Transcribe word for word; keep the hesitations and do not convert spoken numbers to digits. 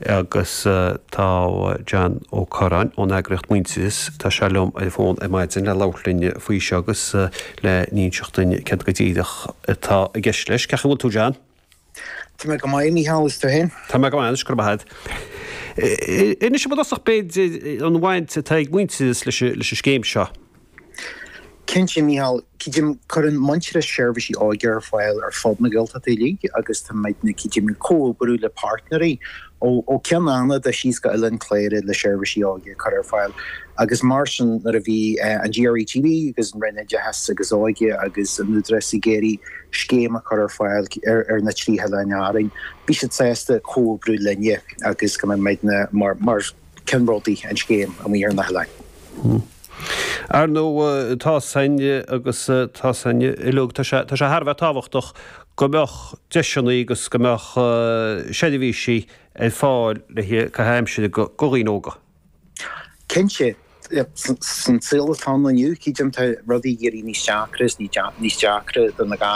Agus tá John Ó Curráin ón eagraíocht Muintearas tá sé liom ar fón ar maidin le labhairt linn faoi seo agus le n-inseacht dúinn céard go díreach atá i gceist leis. Cén chaoi a bhfuil tú John? Tá mé go maith Mícheál is tú féin? Tá mé go maith go maith. Inis i dtosach b'fhéidir an bhaint atá ag Muintearas leis leis an scéim seo. Cinnte Mícheál cuireann Muintearas seirbhísí óige ar fáil ar fud na Gaeltachta uilig agus tá muidne cídim comhoibriú le páirtnéirí ó ó Cheann Fhanada síos go Oileán Cléire le seirbhísí óige chur ar fáil agus mar sin nuair a bhí an GRETB agus an Roinn Oideachais agus Óige agus an Údarás ag iarraidh scéim a chur ar fáil ar, ar na trí hoileán Árainn. Bhí siad sásta comhoibriú linne agus go mbeidh mar mar ceannródaí an scéim amuigh ar na hoileáin. Hmm. Ar ndóigh tá san agus tá san uilig tá sé tá sé thar a bheith tábhachtach go mbeadh deiseanna agus go mbeadh seirbhísí ar fáil le caitheamh aimsire go dhaoine óga. Cinnte san saol atá inniu cídim tá rudaí ag éirí níos deacra níos deacra do na